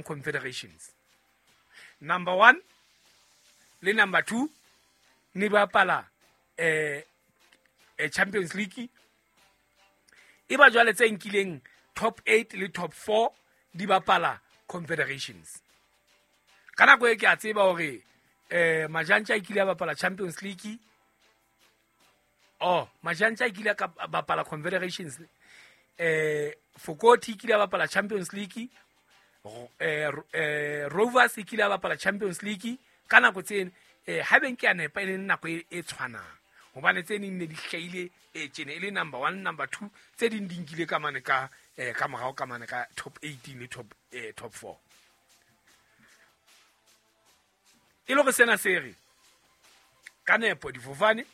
Confederations. Number 1 le number 2 ne bapala Champions League. E ba jwale tse nkileng top 8 le top 4 di bapala Confederations. Ka nako e ke a tseba hore Majantja e kile a bapala Champions League. Oh, Majantja e kile a bapala Confederations. Fokoti e kile a bapala Champions League. Rovers e kile a bapala Champions League. Ka nako tseno ha beng ke a nepa e le nako e tshwanang. Hobane tse neng ne di hlahile tjena e le number 1, number 2, tse ding di nkile ka mane ka ka morao ka mane ka top 18 le top 4. E le hore sena se re ka nepo difofane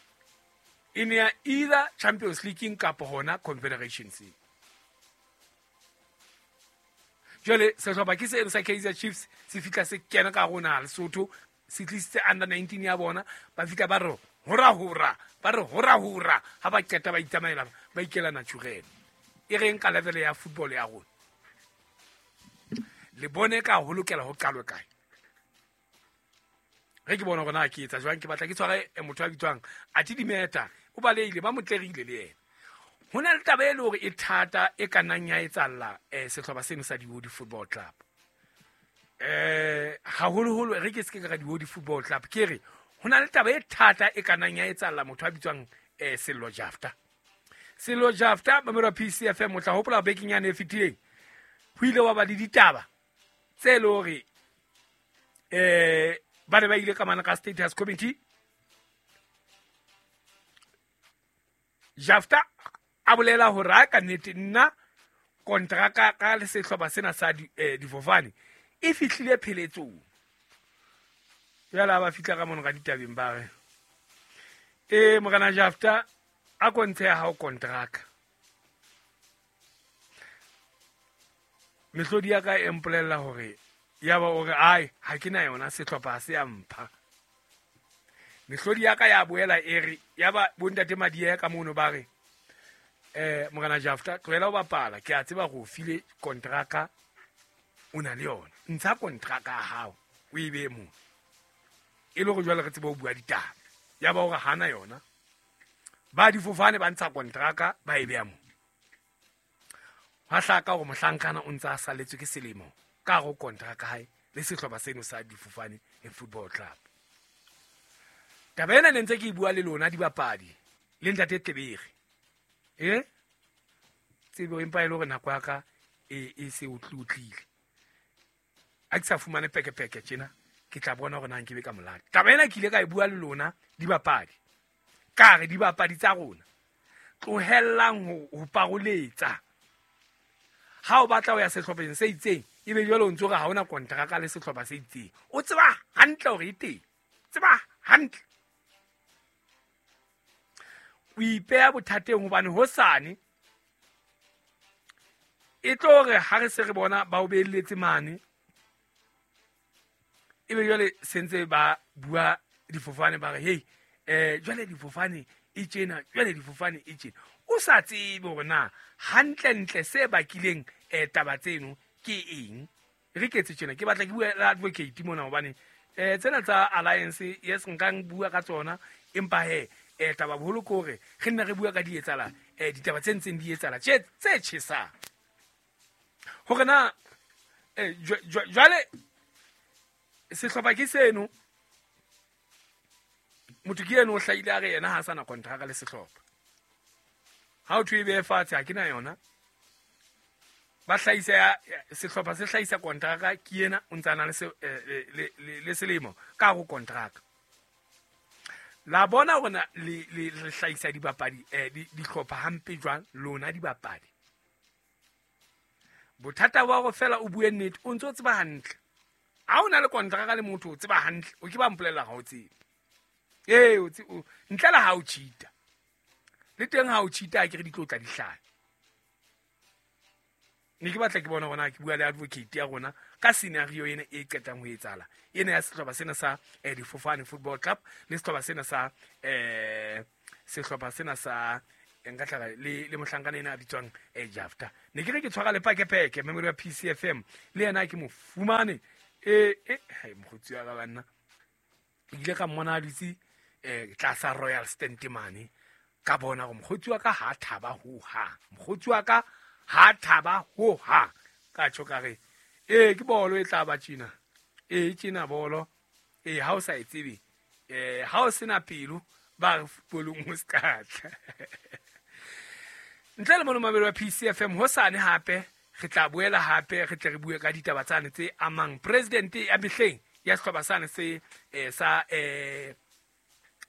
e ne ya either Champions League kapa hona Confederations. Jwale sehlopha ke seno sa Kaizer Chiefs se fihla se kena ka rona Lesotho, se tlisitse under 19 ya bona, ba fihla ba re hora hora, ba re hora hora, ha ba qeta ba itsamaela ba ikela Naturena. E reng ka level ya football ya rona? Le bone ka ho lokela ho qalwe kae? Re ke bona hore na ke etsa jwang, ke batla ke tshware motho a bitswang Ati Dimeta, o balehile, ba motlerile le yena. Ho na le taba e le hore e thata e ka nnang ya etsahalla sehlopha seno sa Diodi Football Club. Haholoholo re ke se ke ka Diodi Football Club, ke re ho na le taba e thata e ka nnang ya etsahalla motho a bitswang Sello Jafta. Sello Jafta mamelo PCFM, o tla hopola bekeng yane e fetileng ho ile wa ba le ditaba tse le hore ba ne ba ile ka mana ka status committee. Jafta a bolela hore a ka nnete nna kontraka ka le sehlopha sena sa difofane e fihlile pheletsong. Jwale ha ba fihla ka mono ka ditabeng ba re morena Jafta a kontshe ya hao kontraka. Mehlodi ya ka e mpolella hore ya ba o re ai ha ke na yona sehlopha se ya mpha. Mehlodi ya ka ya boela e re ya ba bontate Madiya ka mono ba re morena Jafta tlohela ho bapala, ke a tseba go file kontraka o na le yona, ntsha kontraka ya hao o e beye moo e le hore jwale re tsebe ho bua ditaba. Ya ba hore hana yona, ba difofane ba ntsha kontraka ba e beya moo. Hwa hlaka hore mohlankana o ntse a saletswe ke selemo ka hare ho kontraka hae le sehlopha seno sa difofane e Football Club. Taba ena ne ntse ke e bua le lona dibapadi le ntate Tlebere. Tsebo empa e le hore nako ya ka e se otlotlile. A ke sa fumane pekepeke tjena, ke tla bona hore na nke be ka molata. Taba ena ke ile ka e bua le lona dibapadi. Ka re dibapadi tsa rona tlohellang ho paroletsa. Ha o batla ho ya sehlopheng se itseng, ebe jwale o ntso re ha hona kontraka le sehlopha se itseng. O tseba hantle hore e teng. Tseba hantle. O ipeha bothateng hobane hosane e tlo re ha re se re bona ba o beelletse mane, ebe jwale se ntse ba bua difofane ba re hey jwale difofane e tjena, jwale difofane e tjena. O sa tsebe hore na hantlentle se bakileng taba tseno ke eng. Re ketse tjena, ke batla ke bua le advocate mona hobane tsena tsa alliance yes nka bua ka tsona, empa he taba boholo ke hore re nna re bua ka di etsala ditaba tse ntseng di etsala tse tjhesang. Hore na jwale sehlopha ke seno, motho ke eno o hlahile a re yena ha sana kontraka le sehlopha. Ha o thwe e behe fatshe ha ke na yona. Ba hlahisa sehlopha se hlahisa kontraka ke yena o ntse a na le selemo ka ho kontraka. La bona hore na le hlahisa dibapadi dihlopha hampe jwang lona dibapadi. Bothata ba hore fela o bue nnete o ntse o tseba hantle. Ha o na le kontraka le motho o tseba hantle, o ke ba mpolella ha o tsebe. O ntle le ha o cheata. Le teng ha o cheata ke re di tlo tla di hlaha. Ne ke batla ke bona hore na ke bua le advocate ya rona ka scenario ena e qetang ho etsahala. Ena ya sehlopha sena sa Difofane Football Club le sehlopha sena sa sehlopha sena sa Nka tlala le mohlankana ena a bitswang Jafta. Ne ke re ke tshwara le pakepeke memori ya PCFM le yena ke mo fumane hai mokgotsi wa ka banna. Ke ile ka mmona a dutse tlasa Royal Stand mane, ka bona gore mokgotsi wa ka ha thaba ho hang. Mokgotsi wa ka ha thaba ho hang. Ka tjho ka re ke bolo e tla ba tjena. Tjena bolo. Ha o sa e tsebe, ha o sena pelo ba re footballong o ska tla. Ntle le mono mamelo wa PCFM hosane hape re tla boela hape re tle re bue ka ditaba tsane tse amang president ya mehleng ya sehlopha sane se sa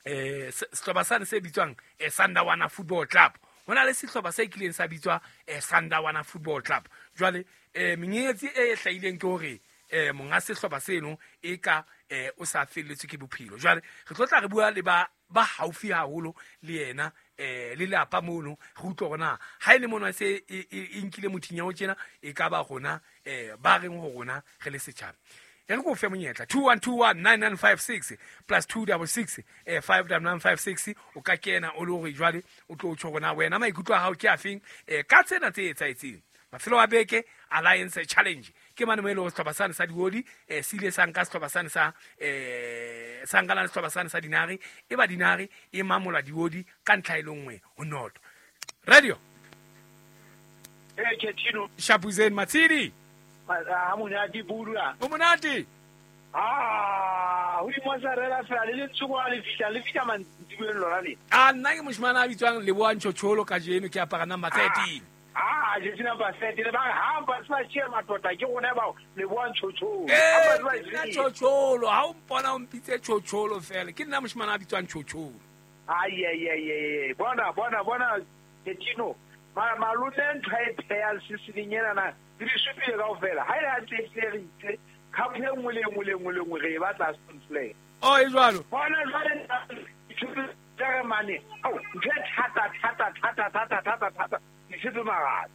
sehlopha sane se bitswang Sandawana Football Club. Ho na le sehlopha se kileng sa bitswa Sandawana Football Club. Jwale menyetsi e hlahileng ke hore monga sehlopha seno e ka o sa felletswe ke bophelo. Jwale re tlo tla re bua le ba haufi haholo le yena le lapa mono, re utlwe hore na ha e le mono se e nkile mothinya o tjena e ka ba rona ba reng ho rona re le setjhaba. E re ko fe monyetla 21219956 plus 266 59956 o ka kena o le hore jwale o tlo tjho rona wena maikutlo a hao ke afeng ka tsena tse etsahetseng. Mafelo a beke Alliance Challenge ke mane mo e leng sehlopha sane sa diodi se ile sa nka sehlopha sane sa sa nkana le sehlopha sane sa dinare, e ba dinare e mamola diodi ka ntlha e le nngwe ho noto. Radio Ketino Shapuzen Matsidi ha monate budula o monate ho di mozzarella fela le letsoko le fihla le fihla mantsibueng lona le. Nna ke moshimana a bitswang Leboa Ntshotsholo kajeno ke apara number 13. Je number 13 le ba ha ba sa tshia matota ke rona ba Leboa Ntshotsholo. Nna Tshotsholo ha o mpona o mpitse Tshotsholo fela ke nna moshimana a bitswang Tshotsholo. Ai ai ai bona bona bona Ketino malome ntho e pheya sisiling ena na di supile kaofela ha ile hantle e re itse cup e nngwe le nngwe le nngwe le nngwe re e batla Stone Flag. Oh e jwalo bona jwale re mane au ntho e thata thata thata thata thata thata di mara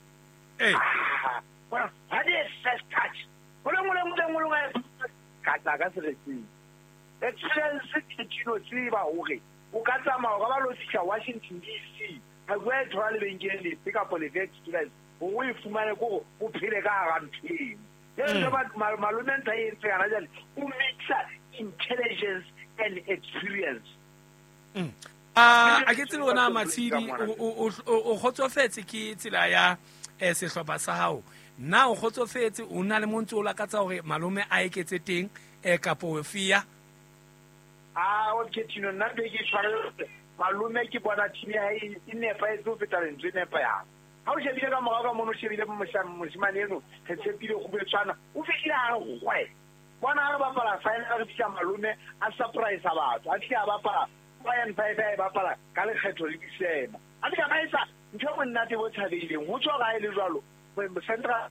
bona ha di first touch go le nngwe le nngwe le nngwe ka tla ka seretseng experience Ketino tseba hore o ka tsamaya o ka ba lo fihla Washington DC ha go e thola lebenkeleng lefe kapa lefe experience o e fumane ko o phele ka hara ntho eno. Malome ntho e entse kana jwale o mixa intelligence and experience. A ke tsebe ona Matshidi o kgotsofetse ke tsela ya sehlopha sa hao. Na o kgotsofetse o na le montse o lakatsa hore malome a eketse teng kapo fia? O Ketino nna be ke tshware malome ke bona team ya hae e nepahetse ho feta lentswe nepa ya. Ha o shebile ka morao ka mono o shebile moshimane eno re tshepile go betshwana o fihlile a re gwe. Bona ha re bapala final re fihla malome a surprise batho a fihla a bapala 4 and 5 a e bapala ka lekgetho le disema. A fihla ba etsa ntho e monate bo tshabeileng ho tswa ga e le jwalo central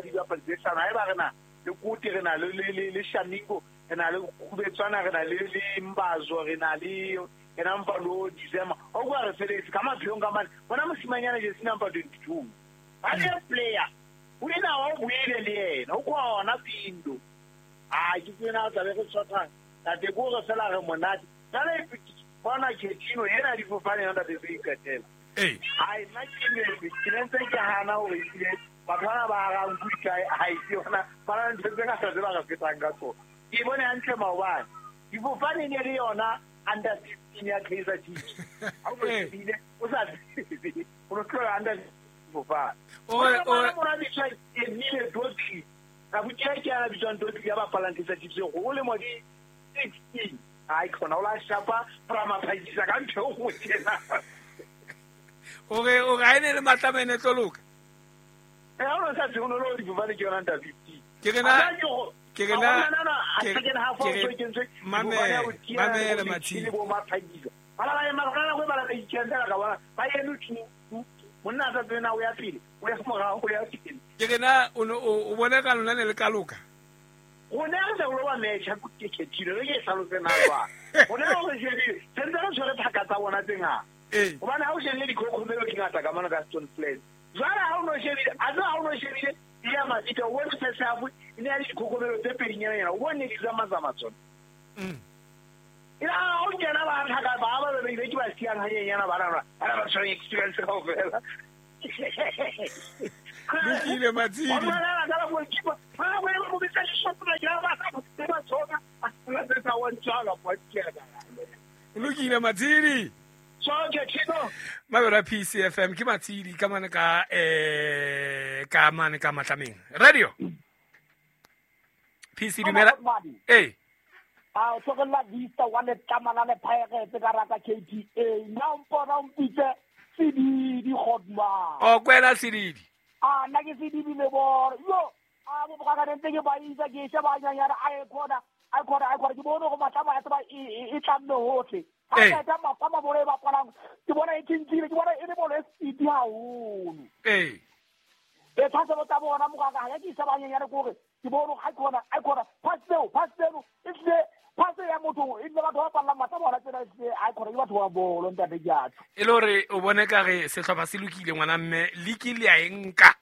di bapala tse hlano ha e ba re na le Kote re na le Shamingo re na le Khubetswana re na le Mbazo re na le ena mpalo December o kwa re feletse ka maphelong ka mane bona mosimanyana je sina number 22 ba le player o ena wa buile le yena o khona pindo a ke tsena tla be re tshwatha tate go re fela re monate jale bona Ketino yena difofane yona tate se ikatela ai nna ke ne ke ntse ke hana hore ile batho bana ba rang kuikae ha e yona ba na ntho tse ngata tse ba re fetang ka tsona ke bone hantle maobane difofane ne le yona under 15 ya Kaizer Chiefs. Ha o bile o sa o no tlola under fofane. O mora bitswa Emile Dotli. Ka botsa ke ana bitswang Dotli ya bapalang Kaizer Chiefs go le mo di 16. Ai khona o la shapa prama phajisa ka ntho go tjena. O re o ga ene le matlamene tlo loka. Ha o sa tsone lo di fofane ke yona under 15. Ke rena ke rena mamele Matshidi bo maphagisa bala ba ema kana go bala ba itjela ka bona ba eme tu monna sa tsena o ya pele o ya morao o ya pele ke rena o bone ka lona ne le ka loka go ne re lo ba match ke Ketino re ke hlalose na ba go ne re shebile sentse re tshwere phaka tsa bona tse ngata hobane ha o shebile dikhokhomelo di ngata ka mona ka Stone Flat jwale ha o no shebile a tsa ha o no shebile ya Mabita o bone first half e ne ya dikhokhomelo tse pedinyana o bone di tsamazama tsona. Ya o kena ba tlhaka ba ba be ke ba siang hanyenyana ba rana. Ba ba tshwere experience kaofela. Lokile Matshidi. Lokile Matshidi. Mabera PCFM ke Matshidi ka mane ka ka mane ka Matlameng. Radio. PC dumela. Eh. A o tlogelela Vista wa letlamana le Pirates ka rata KTA. Nna o mpona o mpitse Sedidi Godman. O kwela Sedidi. A nna ke Sedidi le boro. Yo, a bo ka ntse ke ba isa ke sheba nyanyana a e khona. A khona ke bone go matlama ya tsaba e tlamme hohle. Ha ka tsa matlama bolo e bapalang ke bona e tshintshile ke bona e le bolo e speed haholo. Eh. E tshasa botsa bona mogaka ha ke sheba nyanyana gore ke bone ga khona a khona pass tseo e tle pass ya motho e le batho ba palla matlama bona tsena e a khona ke batho ba bolo ntate jatho. E le hore o bone ka re sehlopha se lokile ngwana mme liki le a e nka.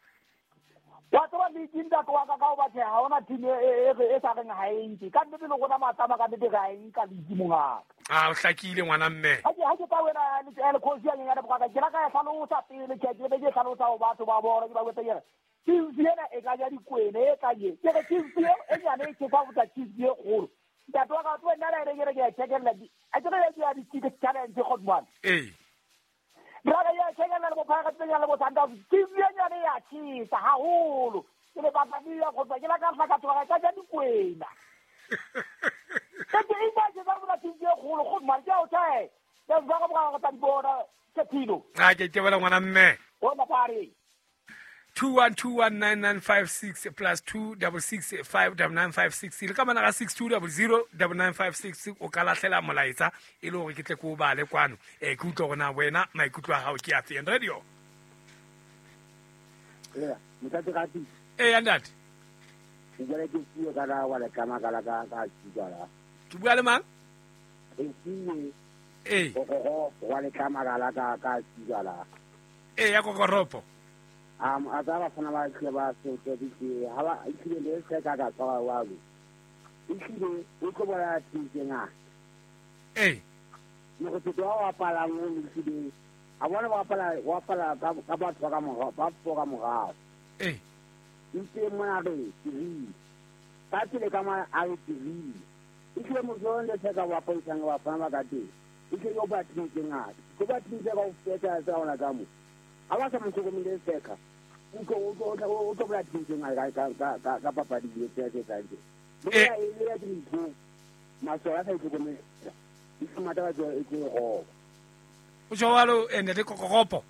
Wa tseba liki ntate wa ka ka o bathe ha ona team e sa reng ha e nke ka nnete le rona matlama ka nnete ga e nka liki mongaka. A o hlakile ngwana mme. Ha ke ka wena le khosi ya nyana bokaka ke la ka hlalosa pele ke be ke hlalosa ho batho ba bona ke ba botse ke Chiefs ena e ka ja dikwene e ka ye ke re Chiefs e nyane e ke fa botsa Chiefs e kgolo ntate wa ka tlo nna le re ke checkella di a ke re ya di ticket challenge godman. Eh. Brother ya checkella le bophara tsenya le botsanda Chiefs e nyane ya tshisa haholo ke le batla di ya go tswa ke la ka fa ka tloga ka ja dikwena. Ke ke ina ke ba bona Chiefs e kgolo godman ke o thae ke ba ka boga tsa di bona ke philo. A ke tebela ngwana mme. Bona pare. 21219956 plus 26659956 le ka mana ga 62009956 o ka lahlela molaetsa e le hore ke tle ke o bale kwano ke utlwe hore na wena maikutlo a hao ke a feng. Radio. Yeah, ntate Rati. Eh ntate. Ke jale ke puo ka la wa le kama ka la ka ka tswa. Ke bua le mang? Eh. Go wa le kama ka la ka ka tswa la. Eh ya kokoropo. A tsa ba fana ba tle ba se ke di ha ba ikile le se ka ka tswa wa go. Ikile o tlo bona tsinga. Eh. Mo go tlo wa pala mo ikile. A bona ba pala wa pala ka batho ba ka mo ba foka morao. Eh. Itse mona re tiri. Ka tsile ka ma a re tiri. Ikile mo zo le se ka wa poisang wa fana ba ka teng. Ikile yo ba tsinga. Go ba tsinga ka o feta tsa ona ka mo. A ba sa mo hlokomele seka. O tlo bla tsinga ka ka papadi le tse tse tse. Le ya e le ya dintho. Maswala sa itlhokomela. Di mata ba tlo e go. O jwalo ene le kokoropo.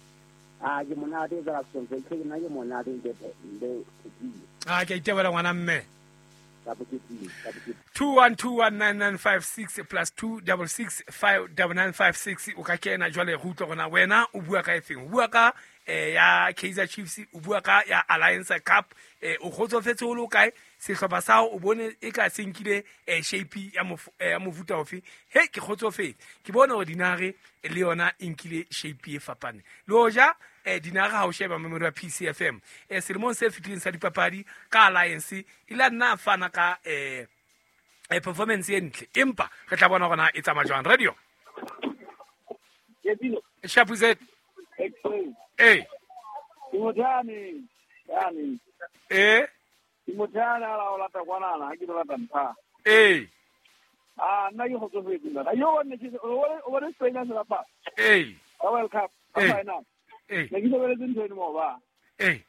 A ke monate ka tsonke ke nna ke monate nte le. A ke itebela ngwana mme. Ka boketile. 21219956 plus 26659956 o ka kena jwale re utlwe gona wena o bua ka efeng. O bua ka ya Kaizer Chiefs, o bua ka ya Alliance Cup, o kgotsofetse o le kae sehlopha sa o bone e ka se nkile shape ya mofuta ofe. He ke kgotsofetse ke bone hore dinare le yona e nkile shape e fapane le hoja dinare ha o sheba memori ya PCFM selemong se fetileng sa dipapadi ka Alliance e la nna fana ka performance e ntle empa re tla bona gona e tsamaya jwang. Radio. Shapuzet. Eh. Imotani. Yani. Eh. Imotani ala ola ta kwana ha ke batla ntha. Eh. Ah nna ke kgotsofetse nna. Yo one ke o re Spain se bapa. Eh. World Cup final. Eh. Ne ke lebeletse ntho eno mo ba. Eh.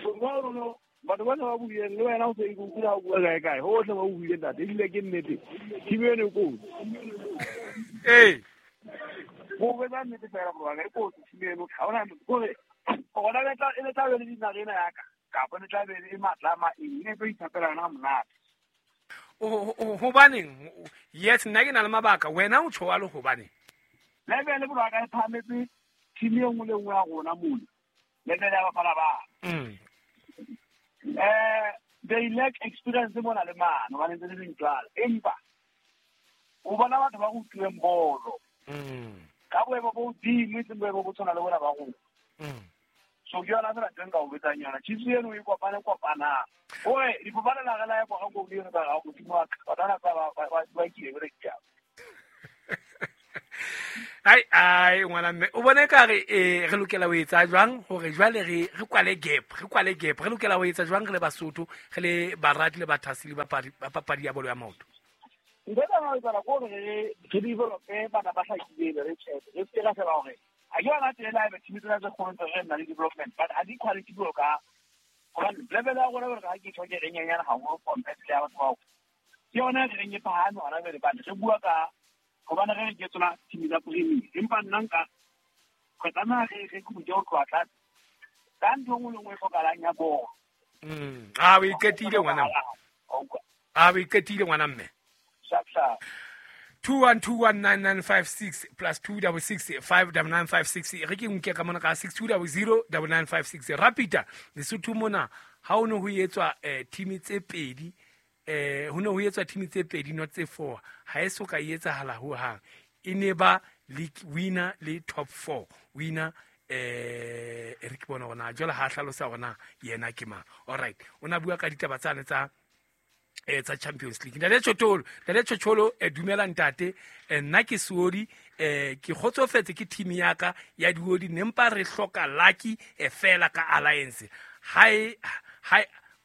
No batho ba ba buileng le wena o se ikutlwa ha o bua kae kae hohle ba o buile ntate ebile ke nnete team eno e kotsi. Eh. Go betsa nnete fela gore e kotsi team eno ga ona gore gona le tla e tla be le dinare ena ya ka kapa le tla be e matlama eng e tlo ithapela yona monate. Hobaneng yes nna ke na le mabaka wena o tjho le hobaneng level le borwa ka e phametse team e nngwe le nngwe ya rona mona level ya bafana ba. They lack experience mona le mano ba ntse le dintwala empa o bona batho ba utlwileng bolo ka boemo bo hodimo e seng boemo bo tshwana le bona ba rona. So ke yona fela teng ka o betsang yona Chiefs eno e kopane kopanang oe difofane la re la ya kwa go le yone ba ga godimo wa ka batho ba ba kile ba re ke. Ai ai ngwana mme o bone ka re re lokela ho etsa jwang hore jwale re kwale gap, re kwale gap, re lokela ho etsa jwang re le Basotho, re le barati le bathaseli ba papadi ya bolo ya maoto. Ntho e tla etsahala ke hore re develope bana ba hlakileng, re tjhebe, re se ka sheba hore ha ke yona tsela ebe team tsena tse kgolo tse re nang le development, but ha di quality jwalo ka hobane level ya rona hore ha ke tjho ke re nyenyane haholo compared le ya batho bao. Ke yona re reng e phahame hona jwale, but re bua ka hobane re re ke tsona team tsa Premier, empa nna nka re tlameha re khutse ho tloha tlase ka ntho e nngwe le nngwe e hlokahalang ya bolo. A o iqetile ngwana mme. A o iqetile ngwana mme. 21219956 plus 266 59956 re ke nke ka mona ka 62009956 Rapita Lesotho mona ha o ne ho etswa team tse pedi, ho ne ho etswa team tse pedi not tse 4, ha e so ka etsahala ho hang, e ne ba league winner le top 4 winner. Re ke bona hore jwale ha hlalosa hore na yena ke mang. All right, o na bua ka ditaba tsane tsa tsa Champions League. Ntate Chocholo, dumela ntate, nna ke Seodi, ke kgotsofetse ke team ya ka ya Diodi, nempa re hloka lucky fela ka alliance. Hi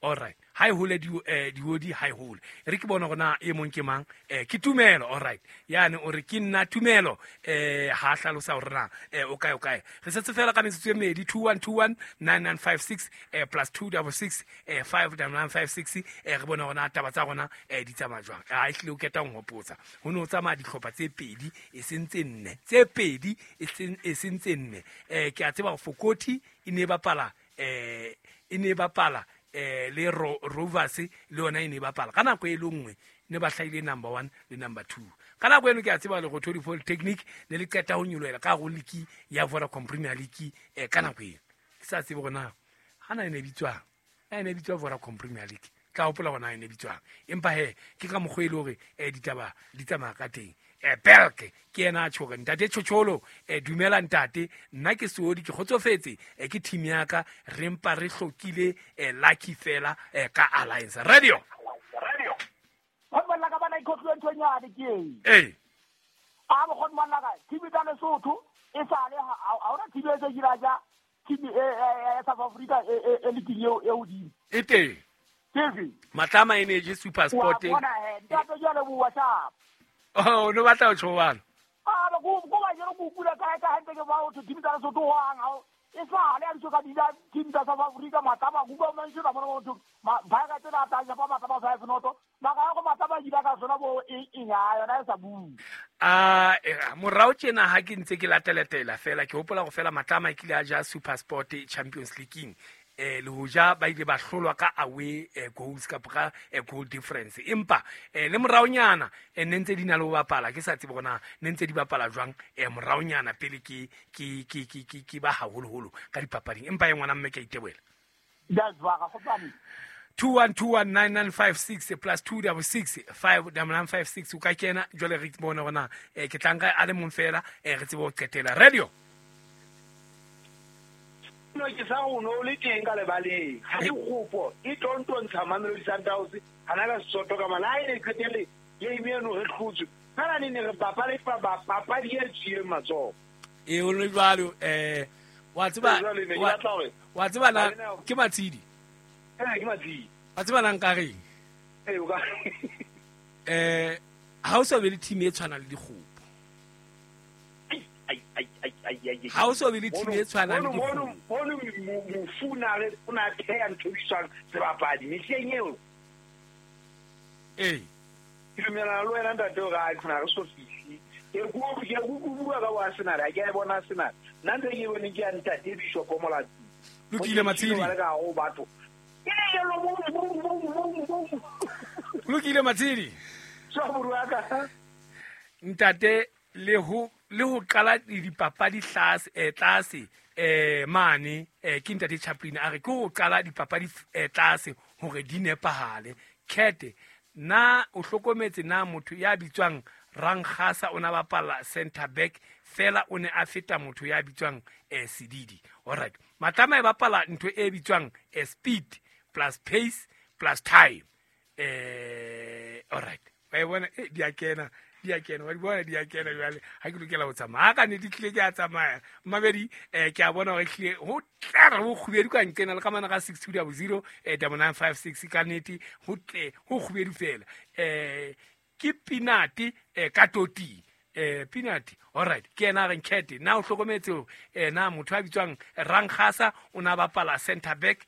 all right, ha e hole Diodi, ha e hole. Re ke bona hore na e mong ke mang, ke Tumelo. All right, yane o re ke nna Tumelo, ha hlalosa hore na o kae o kae. Re setse fela ka metsotso e mmedi, 21219956 plus 266 59956, re bona hore na taba tsa rona di tsamaya jwang. Ha ehlile o keta ho hopotsa ho ne ho tsamaya dihlopha tse pedi e seng tse nne, tse pedi e seng tse nne. Ke a tseba hore Fokoti e ne bapala le Rovers le yona e ne bapala ka nako e le nngwe, ne ba hlahile number 1 le number 2 ka nako eno. Ke a tseba Lerothodi Polytechnic ne le qeta ho nyolohela ka hare league ya Vodacom Premier League ka nako eno. Ke sa tsebe hore na hana e ne bitswang, e ne bitswa Vodacom Premier League, tla hopola hore na e ne bitswang, empa he ke ka mokgwa e le hore ditaba di tsamaya ka teng. Belke ke yena a tjho hore ntate Chocholo, dumela ntate, nna ke Seodi, ke kgotsofetse ke team ya ka, re mpa re hlokile lucky fela ka alliance. Radio ba la ka bana ikhotlwe ntho nyane ke e a bo khone bana ka team tsa Lesotho e sale ha ona team e tse dira ja team e South Africa e league eo e hodimo e teng ke Matlama Energy Super Sport. Wa bona he ntate jwale bo WhatsApp. Oh, no batla ho tjho. Ah, go ba jero go kula ka hantle ke ba o team tsa Lesotho hang ha e sale a ntse ka dila team tsa South Africa Matlama go ba mantse ba bona motho ba ka tsena ta ja ba Matlama 5 noto ba ka go Matlama dila ka sona bo e ya yona e sa bue. Morao tjena ha ke ntse ke lateletela fela ke hopola go fela Matlama e kile a ja Super Sport Champions League, le hoja ba ile ba hlolwa ka away goals kapa ka goal difference, empa le moraonyana ne ntse di na le ho bapala, ke sa tsebe hore na ne ntse di bapala jwang moraonyana pele ke ba haholoholo ka dipapading, empa e ngwana mme ke a itebohela. 21219956 plus 266 59956 o ka kena jwale re bone hore na ke tla nka a le mong fela, re tsebe ho qetela. Radio no ke sa o no le teng ka lebaleng ha dikgopo e tontontsha Mamelodi Sundowns hana ka Sesotho ka mala e ne qetelle game eno re hlotswe kana ne re bapale papadi e tswileng matsoho e o le jwalo. Wa tseba na ke Matshidi, ke Matshidi wa tseba na nka reng o ka ha o sa be le team e tshwanang le dikgopo, ha o so be le team e tshwanang le dikgopo. Mono mofuna re o na theha ntho e bitswang sebapadi mehleng eo. Ee, ke dumellana le wena ntate hore a khona re so fihle. Ke bua ka Arsenal, ha ke a e bona Arsenal. Nna ntho e ke e boneng ke ya ntate Bishop Molatsi. Lokile Matshidi. Batho. Lokile Matshidi. Ntate le ho qala dipapadi tlase mane ke ntate Chaplin a re ke ho qala dipapadi tlase hore di nepahale. Kete na o hlokometse na motho ya bitswang Rankhasa o na bapala center back fela o ne a feta motho ya bitswang Sedidi. All right, Matlama e bapala ntho e bitswang speed plus pace plus time. All right, ba e bona di a kena Di a kena, wa di bona di a kena jwale. Ha ke lokela ho tsamaya. Ha ka nnete tlile ke a tsamaya. Mmamedi, ke a bona hore ehlile ho tlere ho kgubedu ka nqena le ka mana ka 6200 9956 ka nnete ho tle ho kgubedu fela. Ke peanut ka toting. Peanut, alright, ke yena a reng Cat na o hlokometse hore na motho a bitswang Rankgasa o na bapala center back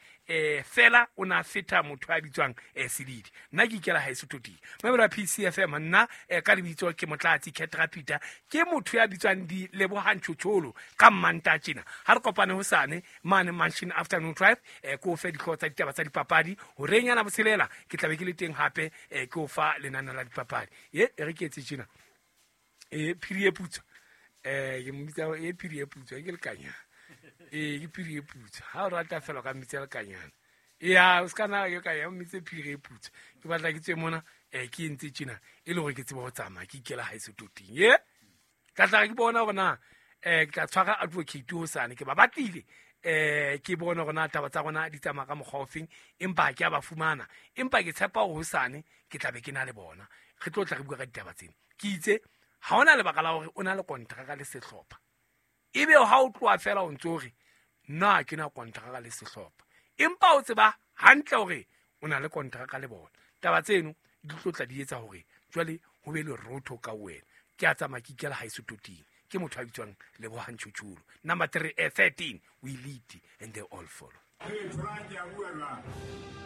fela o na feta motho a bitswang Sedidi. Nna ke ikela haeso toting. Mamelo ya PCFM nna ka lebitso ke Motlatsi Cat Rapita, ke motho ya bitswang di Lebohang Tjhotjholo ka Mmanta tjena. Ha re kopane hosane mane Mansion Afternoon Drive, ke o fe dihlooho tsa ditaba tsa dipapadi horeng ya botshelela, ke tla be ke le teng hape ke o fa lenane la dipapadi. E re ke etse tjena. Phiri e putswa, ke mmitsa e phiri e putswa ke lekanyana. Ke phiri e putswa, ha o rata fela ka mmitsa lekanyana. Ya o ska na ke ka ya mmitse phiri e putswa. Ke batla ke tswe mona, ke entse tjena e le hore ke tsebe ho tsamaya ke ikela haeso toting. Ye ka tla ke bona hore na ke tla tshwara advocate hosane, ke ba batlile ke bone hore na taba tsa rona di tsamaya ka mokgwa ofeng, empa ha ke a ba fumana, empa ke tshepa hore hosane ke tla be ke na le bona, re tlo tla re bua ka ditaba tsena. Ke itse ha hona lebaka la hore o na le kontraka le sehlopha, ebe ha o tloha fela o ntso hore nna ke na kontraka le sehlopha, empa o tseba hantle hore o na le kontraka le bona. Taba tseno di tlo tla di etsa hore jwale ho be le rotho ka wena. Ke a tsamaya ke ikela haeso toting. Ke motho a bitswang Lebohang Tjhotjholo. Number 3, 13, we lead and they all follow. Hey, Frank, ya bua jwang?